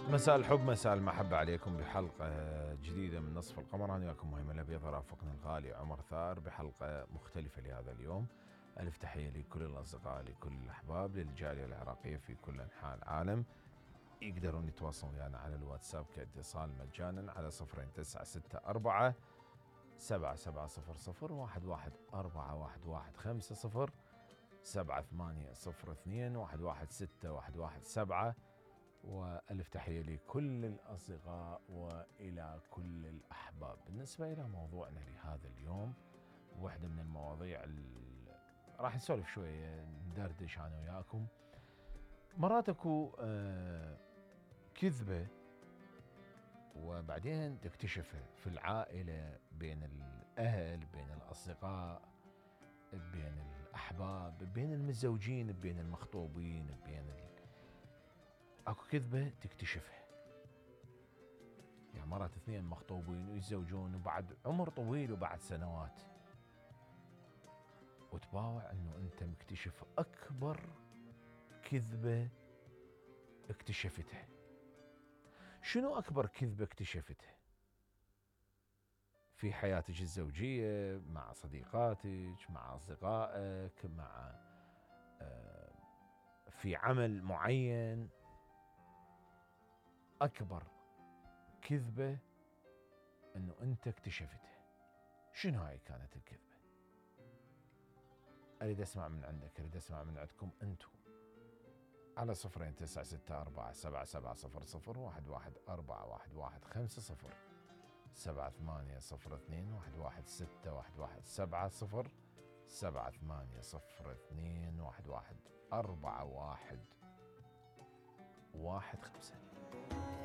مساء الحب مساء المحبة عليكم بحلقة جديدة من نصف القمر. أنا وياكم مهيم الأبيض رافقنا الغالي عمر ثار بحلقة مختلفة لهذا اليوم. ألف تحية لكل الأصدقاء لكل الأحباب للجالية العراقية في كل أنحاء العالم. يقدرون يتواصلون ويانا على الواتساب كاتصال مجانا على 0964 7700 111415 7802 116 وألف تحية لكل الأصدقاء وإلى كل الأحباب. بالنسبة إلى موضوعنا لهذا اليوم، واحدة من المواضيع راح نسولف شوية، ندردش أنا وياكم. مرات أكو كذبة وبعدين تكتشفها في العائلة، بين الأهل، بين الأصدقاء، بين الأحباب، بين المتزوجين، بين المخطوبين، اكو كذبة تكتشفها. يعني مرات اثنين مخطوبين ويتزوجون وبعد عمر طويل وبعد سنوات، وتباوع انه انت مكتشف اكبر كذبة اكتشفتها. شنو اكبر كذبة اكتشفتها في حياتك الزوجية، مع صديقاتك، مع اصدقائك، مع في عمل معين؟ أكبر كذبة أنه أنت اكتشفتها، شنو هاي كانت الكذبة؟ أريد أسمع من عندك، أريد أسمع من عندكم أنتم على 0964 7700 111415 7802 116 7802 11415.